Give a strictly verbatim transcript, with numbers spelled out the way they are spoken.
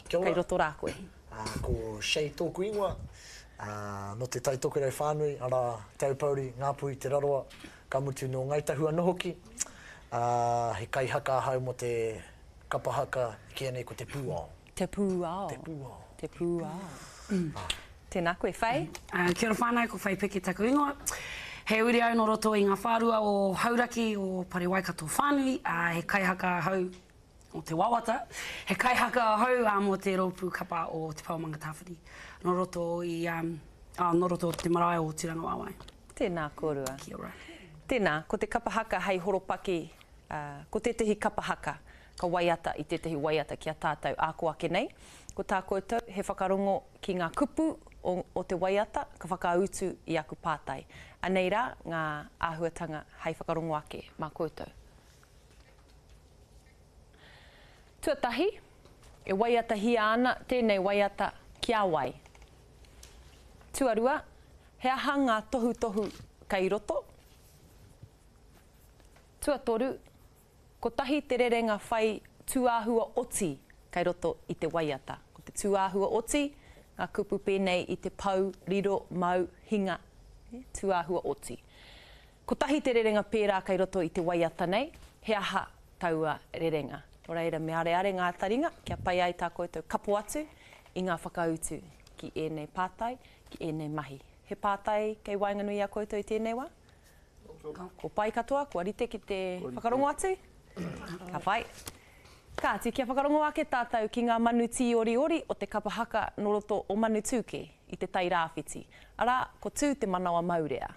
Kia ora. Kei roto rā koe. Ā, ko Shay tōku ingoa, ā, nō Te Tai Tokerau whānui, arā, Te Aupōuri, Ngāpuhi, Te Rarawa, ka mutu nō Ngāi Tahu anō hoki. Ā, he kaihaka ahau mō te kapa haka e kīia nei ko Te Pūao. Te Pūao. Te Pūao. Te Pūao. Tēnā koe, Faye. Ā, kia ora whānau, ko Faye Peke taku ingoa. He uri au nō roto i ngā whārua o Hauraki, o Pare Waikato whānui, ā, he kaihaka ahau o te wawata, he kaihaka ahau ā, mō te rōpū kapa o Te Pao Mangatāwhiri, nō roto i, ā, nō roto o te marae o Tūrangawaewae. Tēnā kōrua. Kia ora. Tēnā, ko te kapa haka hei horopaki, ā, ko tētehi kapa haka ka waiata i tētehi waiata ki a tātou āko ake nei. Ko tā koutou he whakarongo ki ngā kupu o, o te waiata ka whakautu i aku pātai. Anei rā ngā āhuatanga hei whakarongo ake mā koutou. Tuatahi, e waiatahia ana tēnei waiata ki a wai? Tuarua, he aha ngā tohutohu kei roto? Tuatoru, kotahi te rerenga whai tūāhua oti kei roto i te waiata. Ko te tūāhua oti, ngā kupu pēnei i te pou, riro, mau, hinga, tūāhua oti. Kotahi te rerenga pērā kei roto i te waiata nei, he aha taua rerenga? Nō reira, me areare ngā taringa kia pai ai tā koutou kapo atu i ngā whakautu ki ēnei pātai, ki ēnei mahi. He pātai kei waenganui i a koutou i tēnei wā? Ko pai katoa, kua rite ki te whakarongo atu? Ka pai. Kāti, kia whakarongo ake tātou ki ngā manu tīoriori o te kapa haka nō roto o Manutūkē i te Tai Rāwhiti. Arā, ko Tū te manawa maurea.